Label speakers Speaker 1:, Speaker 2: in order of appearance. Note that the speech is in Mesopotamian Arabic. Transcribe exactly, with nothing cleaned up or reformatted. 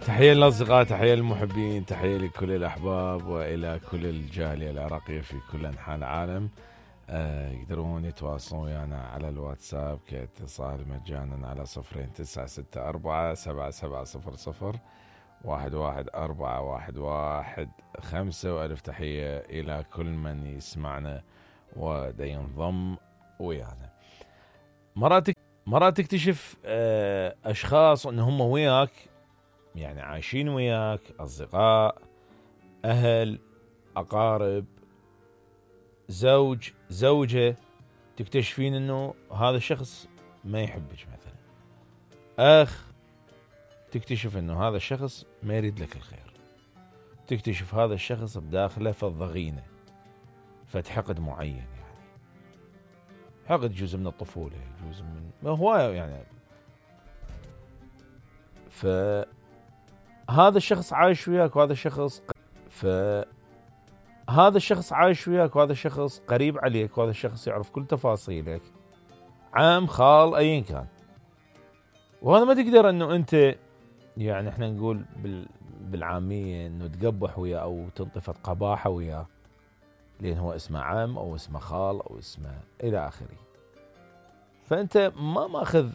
Speaker 1: تحية للأصدقاء، تحية للمحبين، تحية لكل الأحباب وإلى كل الجالية العراقية في كل أنحاء العالم. آه يقدرون يتواصلون ويانا على الواتساب كاتصال مجانا على صفرين تسعة ستة أربعة سبعة سبعة صفر صفر واحد واحد أربعة واحد واحد خمسة. وألف تحية إلى كل من يسمعنا ودا ينضم ويانا. مرات مرات تكتشف آه أشخاص أن هم وياك، يعني عايشين وياك، أصدقاء، أهل، أقارب، زوج، زوجة، تكتشفين أنه هذا الشخص ما يحبك مثلا. أخ، تكتشف أنه هذا الشخص ما يريد لك الخير. تكتشف هذا الشخص بداخله فالضغينة، فتحقد معين، يعني حقد جزء من الطفولة، جزء من هواية يعني. فهذا الشخص عايش وياك وهذا الشخص فهذا الشخص عايش وياك وهذا الشخص قريب عليك وهذا الشخص يعرف كل تفاصيلك، عام، خال، أيا كان. وهذا ما تقدر أنه أنت، يعني احنا نقول بالعامية أنه تقبح وياه أو تنطفت قباحة وياه، لأن هو اسمه عم أو اسمه خال أو اسمه إلى آخره. فأنت ما ماخذ